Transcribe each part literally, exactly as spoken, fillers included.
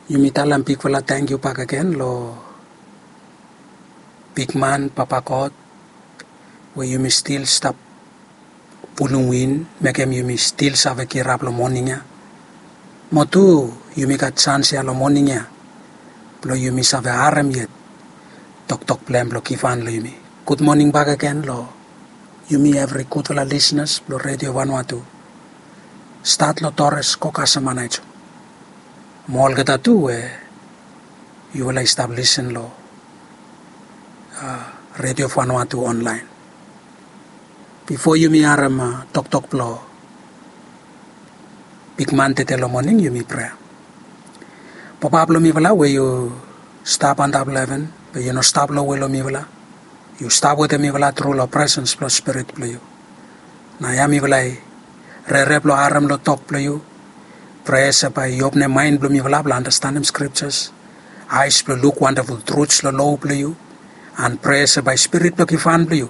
Yumi talem bigfala tangkiu bakegen long bigman Papa God we yumi stil stap pulum win, mekem yumi stil save kirap long moning ya. Mo tu yumi gat sans ya long moning ya blong yumi save harem yet toktok blong hem blong givhan long yumi. Gud moning bakegen long yumi evri gudfala lisnas blong Redio Vanuatu, stat long Torres go kasem Anaijo. Mo olgeta tu we yufala i stap lisen long Redio Vanuatu onlaen. Bifo yumi harem toktok blong bigman tede long moning, yumi prea. Papa blong mifala we yu stap antap long heven, be yu no stap lowe long mifala. Yu stap wetem mifala tru long presens blong Spirit blong yu. Naoia mifala i rere blong harem long tok blong yu. Prea se bae yu opnem maen blong mifala blong andastanem skriptas, aes blong luk wandaful truts long lo blong yu. An prea se bae Spirit blong givhan blong yu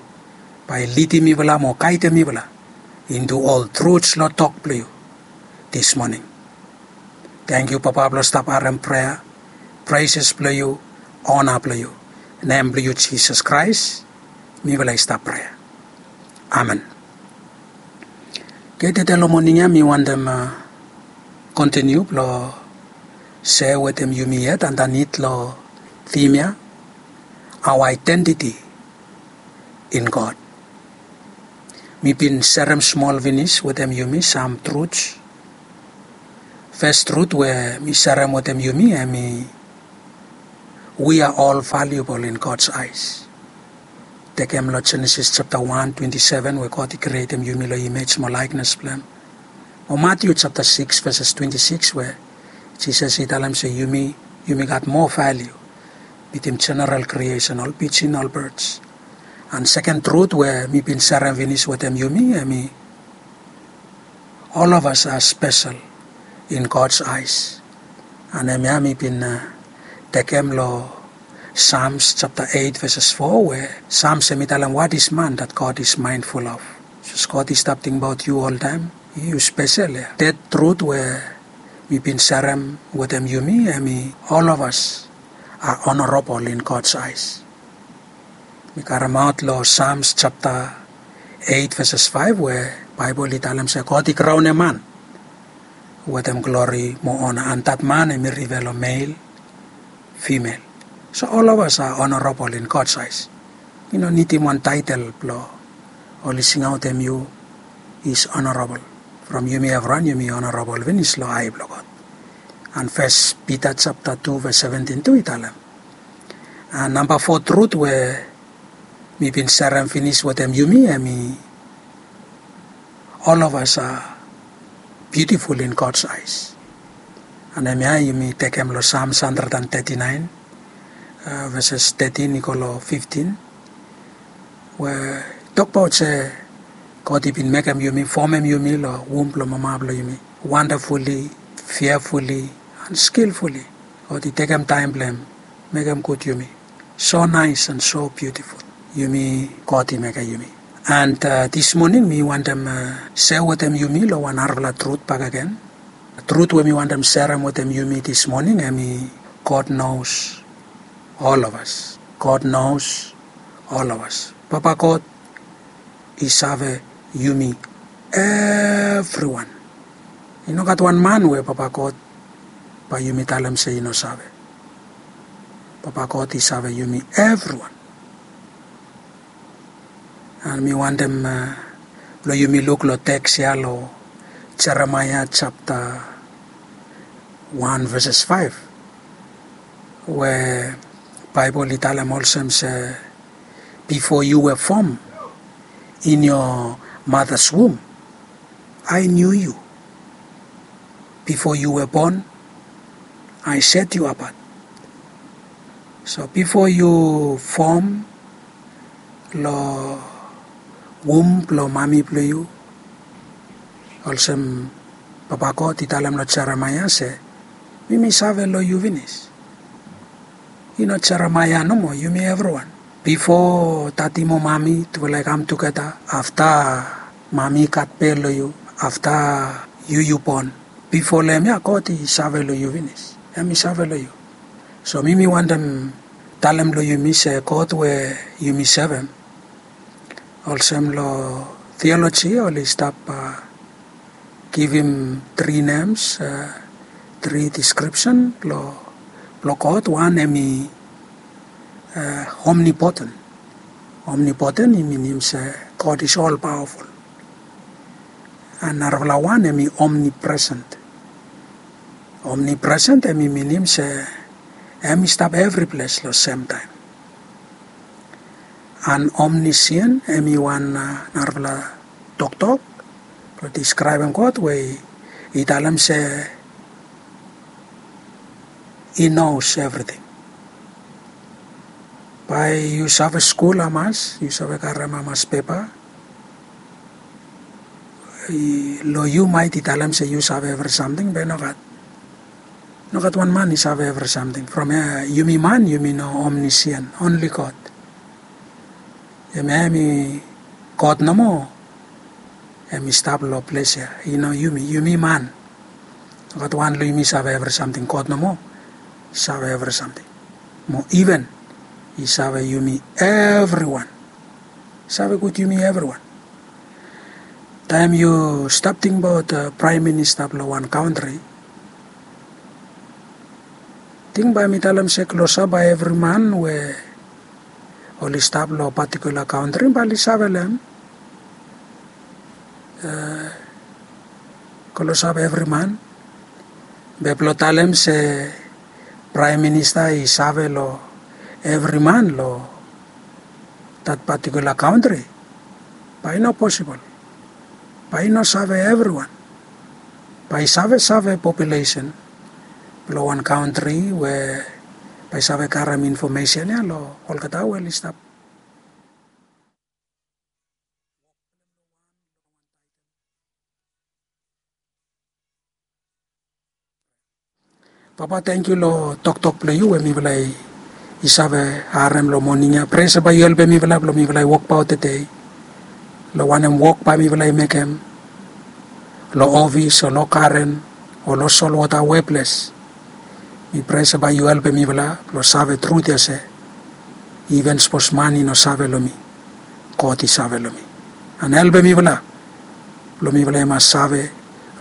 bae lidim mifala mo gaedem mifala into ol truts long tok blong yu dis moning. Tangkiu Papa blong stap harem prea, preses blong yu, ona blong yu. Nem blong yu Jisas Kraes mifala i stap prea. Amen. Oke, tede long moning ya mi wantem kontiniu blong sea wetem yumi yet andanit long thim ya, our identity in God. Mi bin serem smol finis wetem yumi sam truts. Fes trut we mi serem wetem yumi hemi, we are all valuable in God's eyes. Tekem long Jenesis japta wan twenti seven we God i krietem yumi long imej mo laeknes blong hem. Mo Matiu japta sikis veses twenti sikis we Jisas i talem se yumi, yumi gat moa valiu bitim jeneral kriesen, ol pijin, ol birds. An seken trut we mi bin serem finis wetem yumi hemi, all of us are special in God's eyes. An hemia mi bin tekem long Psalms japta eit veses fo we Psalms hemi talem, what is man that God is mindful of? Sapos God i stap tingbaot yu oltaem, yu spesel ya. Thed trut we mi bin serem wetem yumi hemi, all of us are honorable in God's eyes. Mi karemaot long Psalms japta eit veses faef we Baebol i talem se God i kraonem man wetem glori mo ona, an dat man hemi rifea long mel, fimel. So all of us are honorable in God's eyes. I no nidim wan taetel blong oli singaotem yu is honorable. From yumi evriwan yumi honorable finis long ae blong God. An Fes Pita japta tu ves seventin tu i talem. An namba fo trut we mi bin serem finis wetem yumi hemi, all of us are beautiful in God's eyes. An hemia yumi tekem long Psalms hundred and thirty-nine, veses thirteen i go long fifteen, we tokbaot se God i bin mekem yumi, fomem yumi long wum blong mama blong yumi, wonderfully, fearfully and skillfully. God i tekem taem blong hem mekem gud yumi. So nice and so beautiful. Yumi, God i mekem yumi. And dis moning mi wantem sea wetem yumi long wan narafala trut bakegen. Trut we mi wantem serem wetem yumi dis moning hemi, God knows all of us. God knows all of us. Papa God i save yumi evriwan. I no gat wan man we Papa God bae yumi talem se i no save. Papa God i save yumi evriwan. An mi wantem blong yumi luk long teks ya long Jeremaea japta wan veses faef, we Baebol i talem olsem se, before you were formed in your mother's womb, I knew you. Before you were born, I set you apart. So bifo yu fom long wum blong mami blong yu, olsem Papa God i talem long Jeremaea se, mi mi save long yu finis. I no Jeremaea nomo, yumi evriwan. Bifo dadi mo mami tufala i kam tugeta, afta mami i gat bel long yu, afta yu yu bon, bifo long hemia God i save long yu finis. Hem i save long yu. So mi mi wantem talem long yumi se God we yumi sevem, olsem long theology oli stap givim tri nems, tri deskripsen blong God. Wan hem i omnipoten. Omnipoten i minim se God is all powerful. An narafala wan hem i omnipresent. Omnipresent hem i minim se hem i stap evri ples long semtaem. An omnisien hem i wan narafala toktok blong deskraebem God we i talem se he knows everything. Bae yu save skul hamas, yu save karem hamas pepa, long yu maet i talem se yu save evri samting, be nogat. Nogat wan man i save evri samting. From yumi man yumi no omnisien, only God. Hem hem i God nomo hem i stap long ples ya, i no yumi. Yumi man, nogat wan long yumi save evri samting. God nomo save evri samting. Mo iven i save yumi evriwan. Save gud yumi evriwan. Taem yu stap tingbaot praem minista blong wan kantri, ting bae mi talem se klosap bae evri man we oli stap long patikula kantri bae oli save long hem. Klosap evri man. Be blong talem se praem minista i save long evri man long dat patikula kantri, bae i no posibol. Bae i no save evriwan. Bae i savesave populesen blong wan kantri we bae i save karem infomesen ya long olgeta we oli stap. Papa, tangkiu long toktok blong yu we mifala i save harem long moning ya. Prea se bae yu helpem mifala blong mifala i wokbaot tede long wanem wok bae mifala i mekem long ofis o long garen o long solwota weples. Mi prea se bae yu helpem mifala blong save trut ya se iven sapos man i no save long mi, God i save long mi. An helpem mifala blong mifala i mas save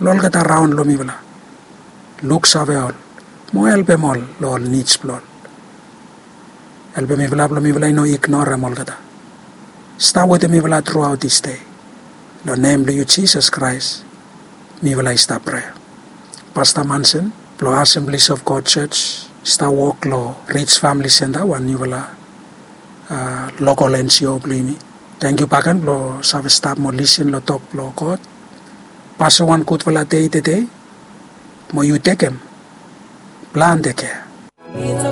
long olgeta raon long mifala, luksave ol mo helpem ol long ol nids blong ol. Helpem mifala blong mifala i no ignorem olgeta. Stap wetem mifala truaot disde. Long nem blong yu Jisas Kraes mifala i stap prea. Pasta Mansen blong Assemblies of God Church i stap wok long Ridge Family Center, wan niufala lokol N G O blong yumi. Tangkiu bakegen blong save stap mo lisin long tok blong God. Pasem wan gudfala dei tede mo yu tekem plante kea.